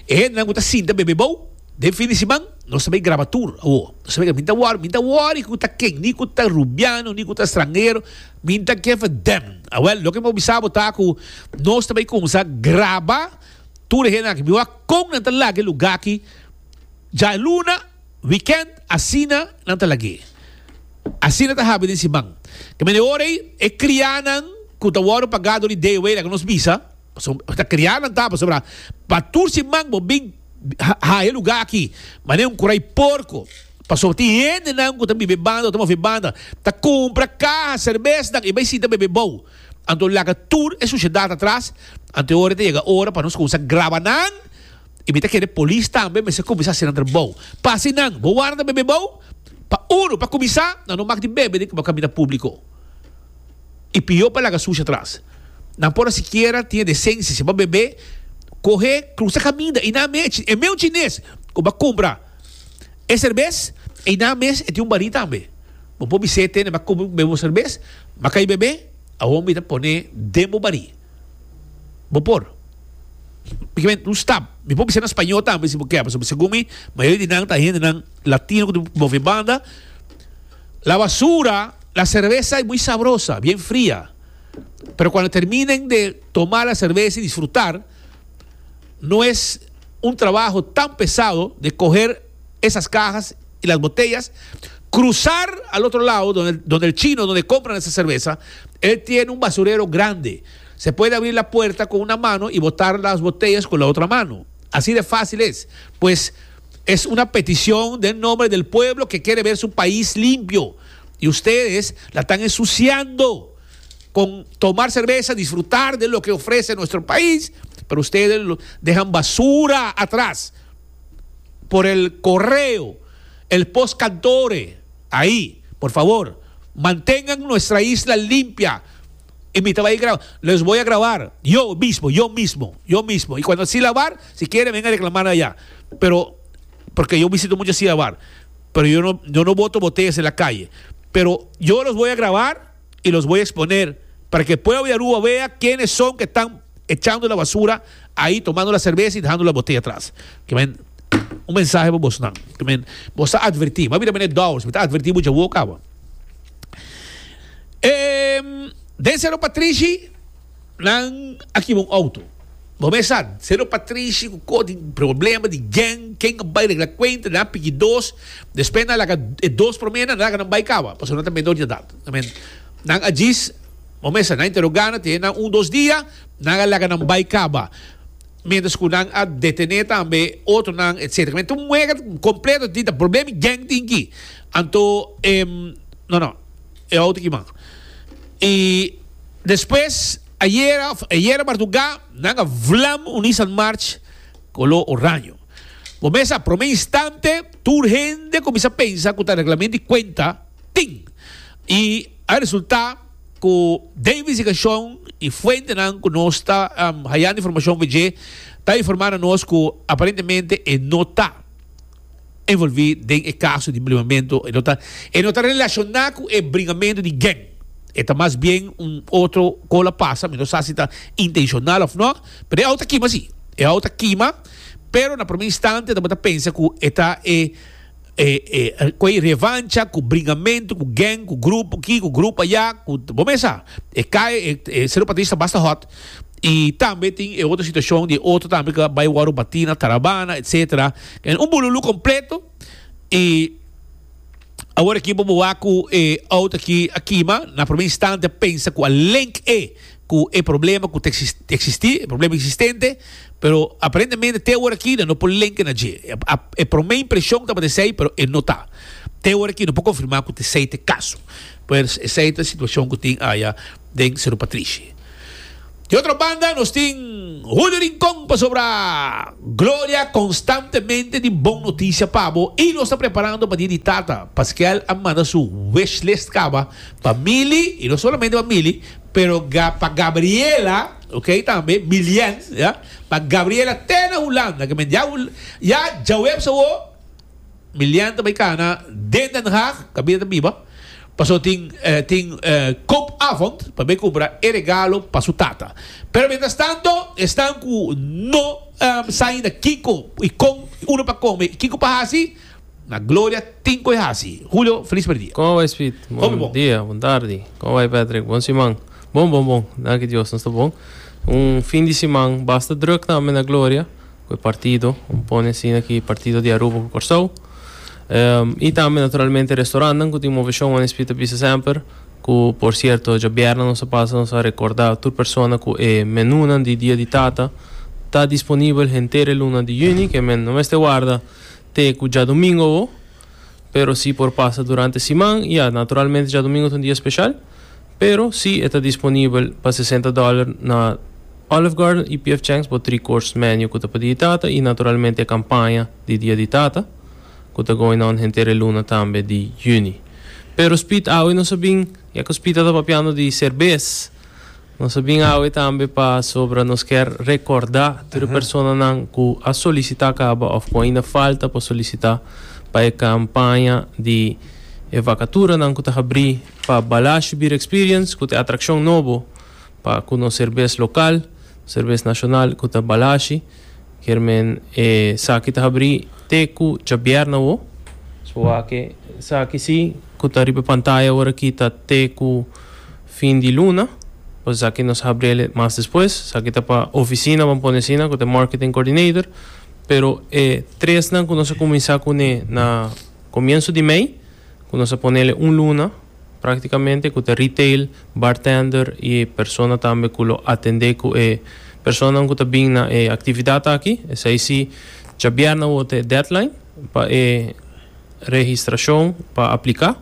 E hendenan ku ta sinta bebe bou den fin di siman, nos ta bai graba tur awor. Nos ta bai graba. Mi ta wòri, mi ta wòri ku ta ken, ni ku ta rubiano, ni ku ta stranhero, mi ta ke verdem. Awèl, loke mi por bisa bo ta ku nos ta bai kuminsá graba tur e hendenan aki. Mi wak kon nan ta laga e lugá aki djaluna. Weekend asina nan ta lag'é. Asina ta habi den siman. Ke mende ora ei e krianan ku ta wòrdu pagá dor di DOW laga nos bisa, pasobra ta krianan ta pasobra pa tur siman bo bin haña e lugá aki manera un kurai porko pasobra tin hendenan ku ta biba e banda o ta move e banda ta kumpra kaha serbesnan i bai sinta bebe bou. Anto laga tur e sushedat atras anto e ora ei ta yega ora pa nos kuminsá graba nan. I mi ta kere polis tambe mester kuminsá hasi nan trabou. Pa hasi nan, bo warda bebe bou? Pa unu, pa kuminsá, nan no mag di bebe den kaminda públiko. I pió pa laga sushi atras. Nan por a sikiera tin e desensia, si bo a bebe, kohe, krusa kaminda i nan mes, e meun chines ku bo a kumpra e serbes, ei nan mes e tin un barí tambe. Bo por bis'é, tene, mi a kumpra bebe bo serbes, mi a kai bebe, awor mi ta pone den bo barí. Bo por. Mi ke un stap. Mi por bisa na spañó tambe si bo ke, pasobra segun mi, mayoria di nan ta hendenan latino ku ta move banda. La basura, la cerveza es muy sabrosa, bien fría. Pero cuando terminen de tomar la cerveza y disfrutar, no es un trabajo tan pesado de coger esas cajas y las botellas, cruzar al otro lado, donde, donde el chino, donde compran esa cerveza, él tiene un basurero grande. Se puede abrir la puerta con una mano y botar las botellas con la otra mano. Así de fácil es. Pues es una petición del nombre del pueblo que quiere ver su país limpio. Y ustedes la están ensuciando con tomar cerveza, disfrutar de lo que ofrece nuestro país, pero ustedes dejan basura atrás por el correo, el postcantore, ahí, por favor, mantengan nuestra isla limpia. Y mi ta graba, les voy a grabar, yo mismo, yo mismo, yo mismo. Y cuando así lavar, si quieren, vengan a reclamar allá. Pero. Porque yo visito muchas bar, pero yo no, yo no boto botellas en la calle. Pero yo los voy a grabar y los voy a exponer para que el pueblo de Aruba vea quiénes son que están echando la basura ahí, tomando la cerveza y dejando la botella atrás. Ke men, un mensahe pa bosnan. Ke men, bos ta advertí. M'a bira meneer Dowers, mi ta advertí mucha wou caba. Ehm, den Cerro Patrishi, nan a kiba un auto. Bo mes sa, Cerro Patrishi cu co tin problema di gang, ken a bay regla cuenta, nan a piki dos, despues nan a laga e dos prome nan a laga nan bay caba, pasobra nan ta menor di edad. Men, nan a djis, bo mes sa, nan a interoga nan, tene nan un dos dia, nan a laga nan bay caba. Mientras cu nan a detene tambe otronan, etcetera. Men, ta un wega completo tin, ta problema di gang tin ki. Anto, no, no, e auto ki man. Y despues. Ayera of ayera mardugá nan a vlam un Nissan March koló oraño. Bo mes a promé instante tur hende kuminsá pensa ku ta reglamento di kuenta tin. I a resultá ku den investigashon i fuentenan ku nos ta hayando informashon for dje ta informá na nos ku aparentemente e no ta envolví den e kaso di bringamentu, e no ta e no ta relashoná ku e bringamentu di gang. E ta mas bien un otro kola pasa, mi no sa si ta intenshonal òf no, pero e auto a kima si. E auto a kima, pero na promé instante tabata pensa ku e ta e e e ku e revancha, ku bringamentu, ku gang, ku grupo aki, ku grupo aya, ku bo mes sa. E kai e e Seru Patricio ta basta hòt. Y tambe tin e otro situacion di e otro tambe cu a bay worde bati na Tarabana etcetera. Un bululu completo y awor aki bo bo wak cu e auto aki a kima. Na prome instante a pensa cu a link e cu e problema cu ta existi, e problema existente, pero aparentemente te awor aki nan no por link na dje. E prome impresion tabata esey pero e no ta. Te awor aki no por confirma cu ta esey ta e caso. Pues esey ta e situacion cu tin aya den Seru Patrishi. Di otro banda nos tin Julio Rincon pasobra Gloria constantemente tin bon noticia pa bo y nos ta preparando pa dia di tata. Pasquel a manda su wishlist caba pa Mili y no solamente pa Mili pero pa Gabriela ok tambe Milien ya pa Gabriela te na Hulanda ke men ya ya djaweps awo Milian ta bai kana den Den Haag, kaminda ta biba, pasobra tin tin koopavond pa bai kumpra e regalo pa su tata. Pero mientras tanto esnan ku no sa ainda kiko i kon uno pa kome i kiko pa hasi, na Gloria tin ku e hasi. Julio, felis merdia. Kon a bai Speed? Bon dia, bon tardi. Kon a bai Patrick? Bon siman. Bon bon bon, danki Dios nos ta bon. Un fin di siman basta druk tambe na Gloria. Ku e partido, un pone asina ki partido di Aruba ku Kòrsou. I tambe naturalmente restorantnan ku tin moveshon wan Esprit ta bisa semper ku por sierto djabièrnè nos a pasa nos a rekordá tur persona ku e menunan di Dia di Tata ta disponibel henter e luna di yüni ke men no mester warda te ku djadumingu awo pero si por pasa durante siman ya naturalmente djadumingu ta un dia speshal. Pero si e ta disponibel pa 60 dollar na Olive Garden y PF Chang's bo 3 course menu cu ta pa Dia di Tata y naturalmente e campaña di Dia di Tata cu ta going on henter e luna tambe di juni. Pero Speed awe nos a bin, ya cu Speed a ta papiando di cerbes, nos a bin awe tambe pasobra nos kier recorda tur e personanan cu a solicita caba of cu ainda falta pa solicita pa e campaña di e vacaturanan cu ta habri Pa Balashi Beer Experience ku ta e atrakshon nobo pa ku nos serbes lokal, serbes nashonal ku ta Balashi. Kier men e saki ta habrí te ku djabièrnè awo. So wak e saki si ku ta riba e pantaya ora aki ta te ku fin di luna. Pues esaki nos habriel mas despues. Esaki ta pa ofisina ban pone asina ku ta e marketing coordinator. Pero e tresnan ku nos a kuminsá kuné na komienso di mei. Ku nos a ponele un luna praktikamente ku ta retail, bartender i persona tambe ku lo atendé ku e personanan ku ta bin na e aktividat aki. Esei si djabièrnè awor ta e deadline pa e registrashon pa apliká.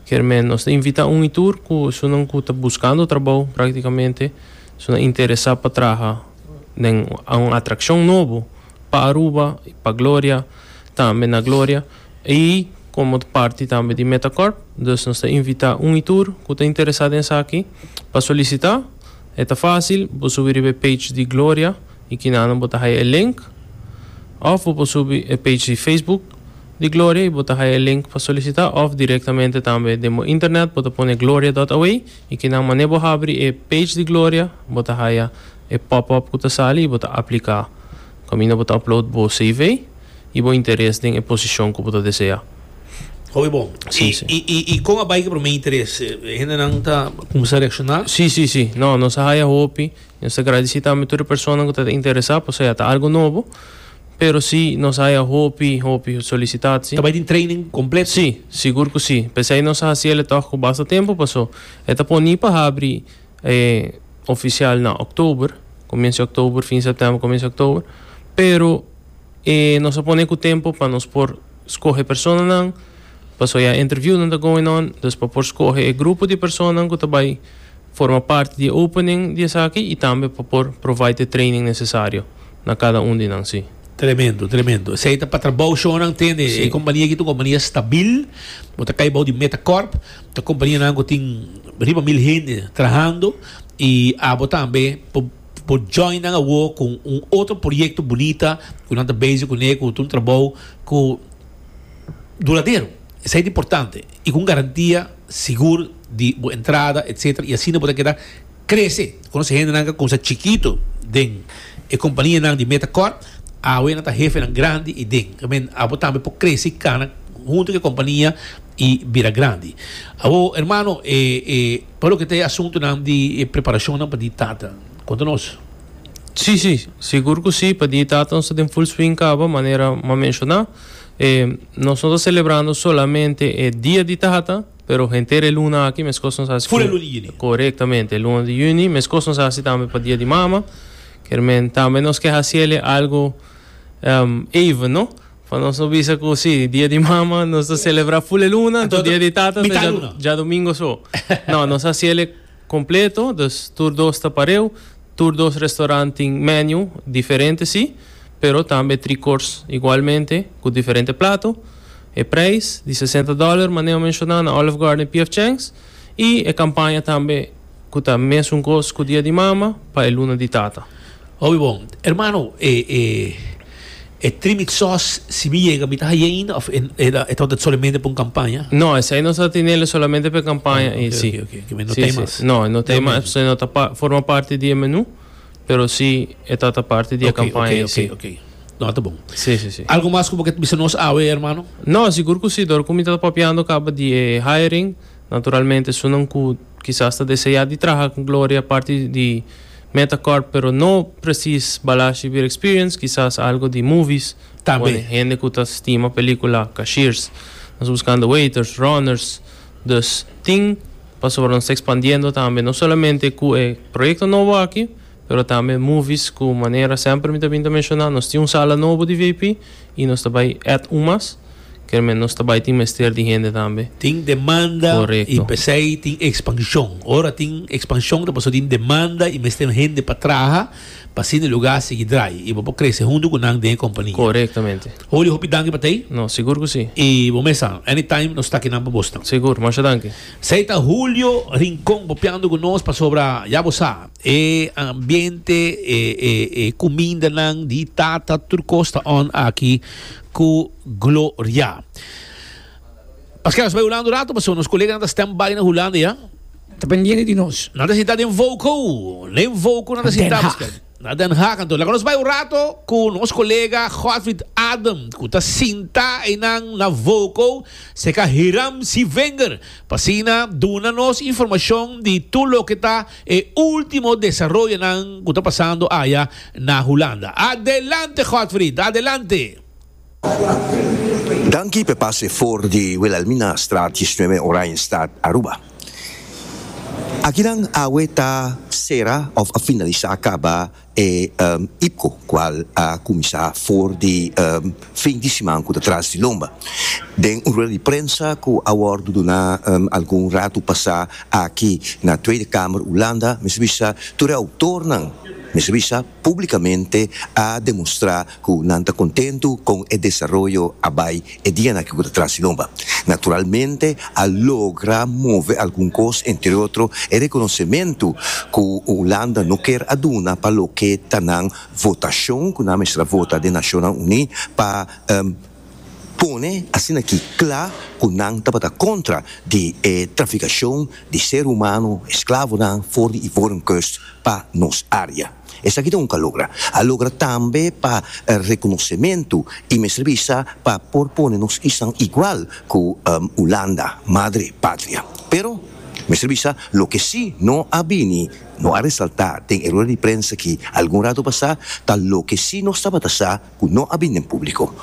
Kier men nos ta invitá un i tur ku esunnan ku ta buskando trabou praktikamente, esunnan interesá pa traha den un atrakshon nobo pa Aruba, pa Gloria, tambe na Gloria. I komo parti tambe di Metacorp, dus nos ta invitá un i tur ku ta interesá den esaki pa solisitá. E ta fásil, bo subi riba e page di Gloria i kinanan bo ta haya e link. Òf bo por subi e page di Facebook di Gloria i bo ta haya e link pa solisitá òf direktamente tambe den bo internet bo ta pone gloria dòt away i kinan manera bo habri e page di Gloria bo ta haya e pop up ku ta sali i bo ta apliká kaminda bo ta upload bo CV i bo interes den e posishon ku bo ta deseá. Hopi bon. Sí, sí. I, i, i kon a bai ku promé interes? E hendenan ta kuminsá reakshoná? Sí, sí, sí. No, nos a haya hopi. Nos ta gradisí tambe tur e personanan ku ta interesá pasobra ya ta algu nobo. Pero sí, nos a haya hopi, hopi solisitatie. Ta bai tin training kompleto? Sí, sigur ku sí. P'esei nos a hasi el e tòg ku basta tempu paso e ta poni pa habri e ofisial na òktober, komienso di òktober, fin sèptèmber, komienso di òktober. Pero e nos a pone ku tempu pa nos por skohe personanan, paso ya interviewnan ta going on, dus pa por skohe e grupo di personanan ku ta bai Forma parti di e opening di esaki y tambe pa por provide e training necesario na cada un di nan, si. Tremendo, tremendo. Esey ta pa trabou shownan tende. Si. E compania aki ta un compania stabil. Bo ta cay bou di Metacorp. Ta companianan cu tin riba mil hende trahando y abo tambe por por join nan awo cu un otro proyecto bunita cu nan ta bezig cune cu ta un trabou cu duradero. Esey ta importante y cu un garantia sigur di bo entrada etcetera y asina bo ta keda crece. Conoce hendenan cu a cuminsa chikito den e companianan di Metacorp, awe nan ta hefenan grandi y den. I mean, abo tambe por crece y cana hunto cu e compania y bira grandi. Awo, hermano, e, e, pa loke ta e asuntonan di e preparacionnan pa di tata, conta nos. Sí, sí, sigur cu sí, pa di tata nos ta den full swing caba, manera m'a menciona. E, nos no ta celebrando solamente e dia di tata, Pero henter e luna aki meskos nos hasi Ful e luna di yüni. Korektamente, e luna di yüni. Meskos nos hasi tambe pa dia di mama. Kier men tambe nos ke hasi el algo even, no? Pa nos no bisa ku si dia di mama nos ta selebrá ful e luna, anto dia di tata ta djadumingo so. No, nos hasi el kompleto, dus tur dos ta pareu. Tur dos restaurant tin menu diferente si, pero tambe tri course igualmente ku diferente plato. E prijs di sesenta dollar manera a menshoná na Olive Garden i PF Chang's i e kampaña tambe ku ta mesun kos ku Dia di Mama pa e luna di Tata. Hopi bon. Hermano, e e e trimit sauce si mi yega mi ta haye ainda of e e ta tabata solamente pa un campaña? No, esei nos ta tinele solamente pa e campaña Ah, i ok, si. ok, ok. No Si, ta si. mas. No, no ta No mas, menu. no ta pa forma parti di e menu, pero si e ta parti di e Ok, campaña ok, i si. ok, ok. No, ta bon. Sí, sí, sí. Algo mas ku bo ke bisa nos awe, hermano? No, sigur ku sí. Dor ku mi ta papiando kaba di e hiring, naturalmente esunnan ku kisas ta deseá di traha ku Gloria parti di Metacorp, pero no presis Balashi Beer Experience, kisas algo di movies. Tambe. Pone hende ku ta stima pelikula, cashiers. Nos buskando waiters, runners. Dus tin, pasobra nos ta ekspandiendo tambe, no solamente ku e proyekto nobo aki, Pero tambe movies cu manera semper mi ta bin ta menciona, nos tin un sala nobo di VIP y nos ta bay add un mas, kermen nos ta bay tin mester di hende tambe. Tin demanda y Correcto. pesey tin expansion. Ora tin expansion ta pasobra tin demanda y mester hende pa traha pa asina e lugar sigui draai y bo por crece hunto cu nan den e compania. Correctamente. Julio hopi danki pa tey. No, sigur cu si. Y bo mesa, anytime nos ta akinan pa bosnan. Sigur, masha danki. Esey ta Julio Rincon papiando cu nos pasobra ya bo sa. E ambiente, e e e kumindanan di tata tur kos ta on aki ku Gloria. Paskel nos bai Hulanda un rato pasobra nos koleganan ta stand by na Hulanda ya. Ta pendiente di nos. Nan ta sinta den Voko. Den Voko nan ta sinta Paskel. Na Den Haag anto. Laga nos bai un rato ku nos kolega Godfried Adam ku ta sinta einan na Voko seka Hiram Sievinger pa asina duna nos informashon di tur loke ta E ultimo desaroyonan cu ta pasando aya na Hulanda. Adelante Godfried, adelante! Danki p'e pase for di Wilhelminastraat 19 Oranjestad, Aruba. Akinan awe ta sera of a finalisa caba E IPCO, cual a cuminsa for di fin di siman cu ta tras di lomba. Den un rueda di prensa cu a wordo duna algun rato pasa aki na Tweede Kamer Hulanda, mester bisa tur e autornan mester bisa publicamente a demostra cu nan ta contento con e desaroyo a bay e dianan aki cu ta tras di lomba. Naturalmente a logra move algun cos, entre otro e reconocemento cu Hulanda no kier a duna pa loke. loke ta nan votashon ku nan mester a vota den Nashonnan Uní pa pone asina aki kla ku nan tabata kontra di e trafikashon di ser humano, esklavonan for di Ivorenkust pa nos área. Esaki ta un ku a logra. A logra tambe pa rekonosementu i mester bisa pa por pone nos isnan igual ku Hulanda, madre patria. Pero mester bisa loke si no a bini, no a resaltá den e rueda di prensa aki algun rato pasá, ta loke si nos tabata sa, ku no a bini den públiko.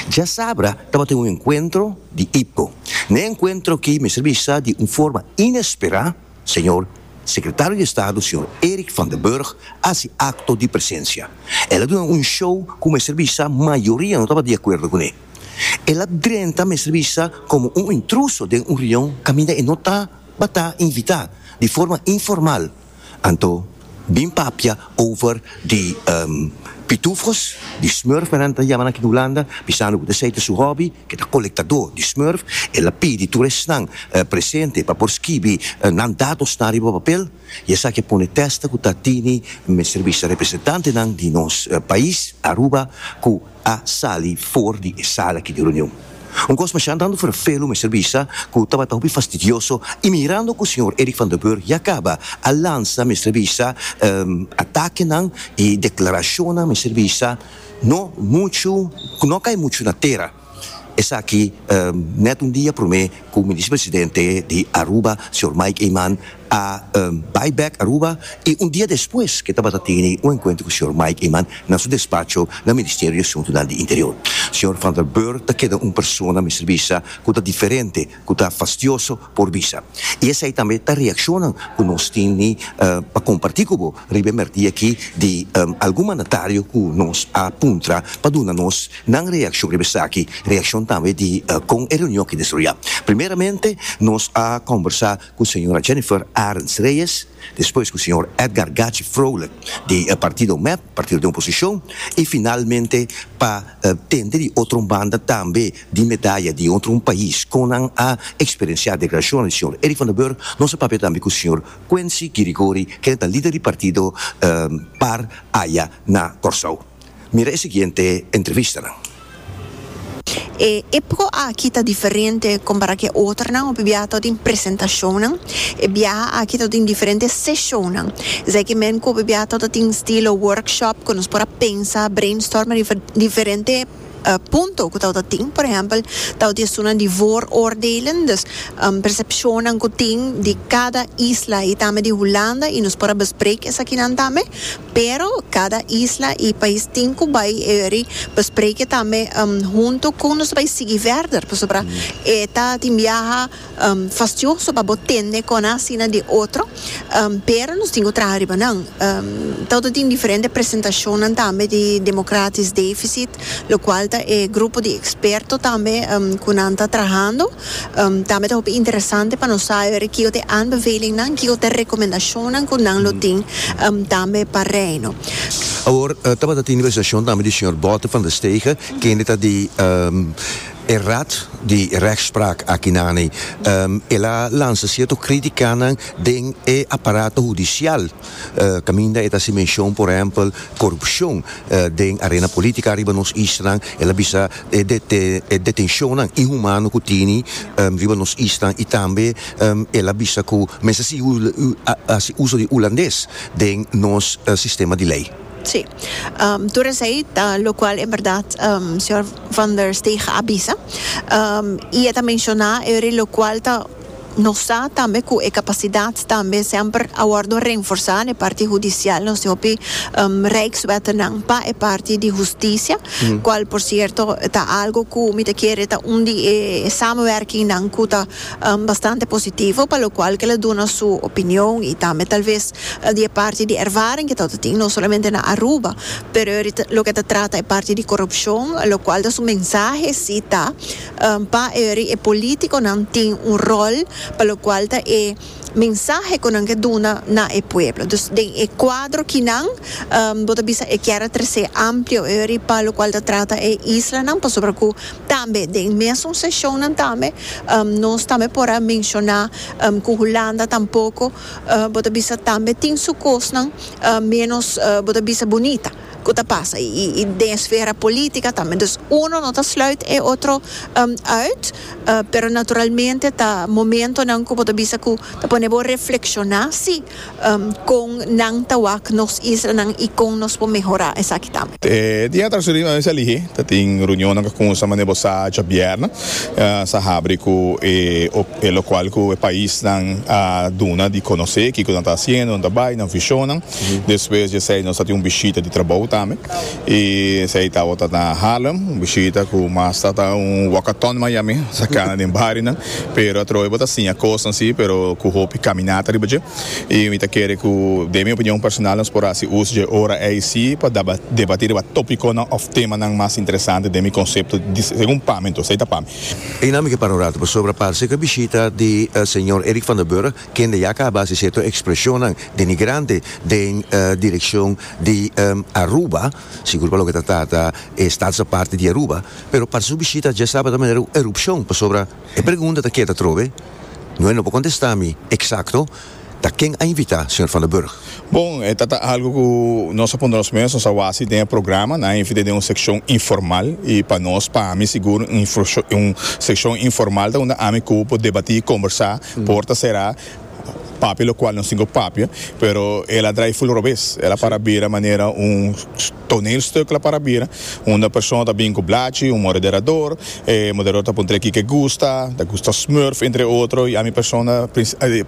Djasabra tabatin un enkuentro di IPCO. Na e enkuentro aki mester bisa di un forma inesperá señor Sekretario di Estado señor Eric van der Burg a hasi akto di presensia. El a duna un show ku mester bisa mayoria no tabata di akuerdo kuné. El a drenta mester bisa komo un intruso den un reunion kaminda e no tabata invitá di forma informal. Anto bin papia over di pitufos, di smurf men nan ta yama nan aki na Hulanda, bisando ku esei ta su hobby, ke ta kolektadó di smurf. El a pidi tur esnan presente pa por skibi nan datosnan riba papel i esaki a pone testa ku ta tini mester bisa representantenan di nos pais Aruba ku a sali for di e sala aki di reunion. Un kos masha tantu ferfelu mester bisa ku tabata hopi fastidioso i mirando ku señor Eric van der Burg ya kaba a lansa mester bisa atakenan i deklarashonnan mester bisa no muchu ku no a kai muchu na tera. Esaki nèt un dia promé ku Minister Presidente di Aruba señor Mike Eman a bai bek Aruba y un dia despues ke tabata tene un encuentro cu señor Mike Eman na su despacho na Ministerio di Asuntonan di Interior. Señor Van der Burg ta keda un persona mester bisa cu ta diferente, cu ta fastioso por bisa. Y esey tambe ta reaccionnan cu nos tini pa comparti cu bo riba e merdia aki di algun mandatario cu nos a puntra pa duna nos nan reaccion riba esaki, reaccion tambe di con e reunion aki desaroya. Primeramente nos a combersa ku señora Jennifer Arends Reyes, despues ku señor Edgar Gachi Vrolijk di partido mep, partido den oposishon, i finalmente pa tende di otro un banda tambe di medaya di otro un pais kon nan a eksperensiá deklarashonnan di señor Eric van der Burg. Nos a papia tambe ku señor Quincy Girigori kende ta lider di partido par aya na Kòrsou. Mira e siguiente entrevistanan. E epco aki ta diferente compara cu e otronan, hopi biaha ta tin presentacionnan, e biaha aki ta tin diferente sesionnan. Esaki men cu hopi biaha ta tin stilo workshop cu nos por a pensa, brainstorm riba diferente punto cu ta tin. Por ehempel, ta tin esunnan di vooroordelen, dus percepcionnan cu tin di cada isla y tambe di Hulanda y nos por a bespreek esakinan tambe. Pero cada isla y pais tin cu bay eri bespreken tambe hunto con nos ta bay sigui verder pasobra e ta tin biaha fastioso pa bo tende con asina di otro pero nos tin cu traha riba nan. Tawata tin diferente presentacionnan tambe di Democratisch Deficit locual ta e grupo di experto tambe cu nan ta trahando. Tambe ta hopi interesante pa nos sa ora kiko ta e aanbevelingnan, kiko ta e rekomendashonnan ku nan lo tin tambe pa Reino. Awor tabata tin presentashon tambe di señor Botte van der Stegen, kende ta di e Raad di Rechtspraak aki nani. El a lansa sierto kritikanan den e aparato hudisial, kaminda e ta hasi menshon por ehèmpel korupshon den arena politica riba nos islanan. El a bisa e detencionnan inhumano cu tini riba nos islan y tambe el a bisa cu mester sigui haci uso di Hulandes den nos sistema di ley. Sí. Tur esey ta locual en berdad señor Van der Steeg a bisa. Y e ta menciona eri locual ta. Nos sa tambe cu e capacidad tambe semper a wordo renforsa na e parti hudicial. Nos tin hopi rijkswettennan pa e parti di husticia, cual por cierto ta algo cu mi ta kere ta un di e samenwerkingnan cu ta bastante positivo, pa locual cu el a duna su opinion y tambe tal vez di e parti di ervaring cu ta tin no solamente na Aruba, pero loke ta trata e parti di corupcion, locual ta su mensahe si ta. Pa eri e politiconan tin un rol. pa lokual ta e mensahe ku nan ke duna na e pueblo. Dus den e kuadro kinan bo ta bisa e kier a trese amplio eri pa lokual ta trata e islanan pasobra ku tambe den mesun seshonnan tambe nos tambe por a menshoná ku Hulanda tampoko bo ta bisa tambe tin su kosnan ménos bo ta bisa bunita. Ku ta pasa i den esfera politica tambe. Dus uno no ta sluit e otro uit, pero naturalmente ta momentonan ku bo ta bisa ku ta pone bo reflekshoná si kon nan ta wak nos islanan i kon nos por mehorá esaki tambe. E dia tras riba mester lihé ta tin reunionnan ku a kuminsá manera bo sa djabièrnè sa habri ku e lokual ku e paisnan a duna di konosé kiko nan ta hasiendo, nan ta bai, nan vishonnan. Despues di esei nos a tin un bishita di trabou tambe y esei tabata na Harlem, un bishita cu mas ta ta un walkathon mas yami, sa cana den barionan, pero atrobe bo ta siña cosnan si, pero cu hopi caminata riba dje y mi ta kere cu den mi opinion personal nos por haci uso dje ora ei si pa debati riba topiconan of temanan mas interesante den mi concepto segun pa mi, entonces esei ta pa mi. Einan mi ke para un rato pasobra parse cu e bishita di señor Eric van der Burg Kende ya caba haci cierto expresionnan denigrante den direccion di Aruba, sigur pa loke ta trata e staatsaparte di Aruba, pero parse su bishita dje sabado ta manera un erupcion, pasobra e pregunta ta keda atrobe, no e no por contesta mi exacto, ta ken a invita señor Van der Burg? Bon, e ta ta algo cu nos a puntra nos mes, nos a wasi den e programa, nan a invita den un seccion informal y pa nos, pa mi sigur un seccion informal ta unda ami cu por debati y conversa. Por ta será papia locual nos tin cu papia, pero el a draai full robes. El a para bira manera un toneelstuk el a para bira, unda persona ta bin cu blachi, un moderador, e moderador ta puntra kico e gusta, ta gusta smurf entre otro, y ami persona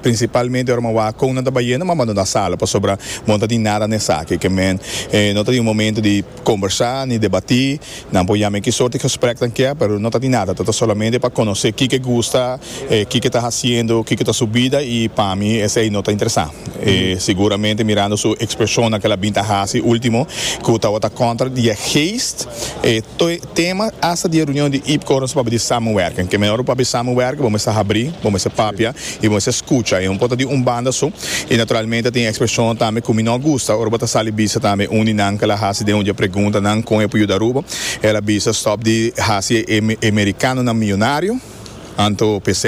principalmente ora mi a wak con nan ta bayendo mi a bandona sala pasobra bo no ta tin nada na esaki. Ke men no ta tin un momento di combersa ni debati. Nan por yama e ki sorti gesprek nan kier, pero no ta di nada. Ta ta solamente pa conoce kiko e gusta, kiko e ta haciendo, kiko ta su bida y pa mi esey no ta interesa. Seguramente mirando su expresionnan cu el a bin ta haci ultimo cu tabata contra di e geest, e tema hasta di e reunion di IPCO nos papia di samenwerking. Ke mehor bo papia di samenwerking bo mester habri, bo mester papia y bo mester scucha. Y no por ta di un banda so. Y naturalmente tin expresionnan tambe cu mi no a gusta ora bo ta sali bisa tambe un di nan cu el a haci den un di e preguntanan con e por yuda Aruba. El a bisa stop di haci e mericanonan miyonario. Anto p'esei.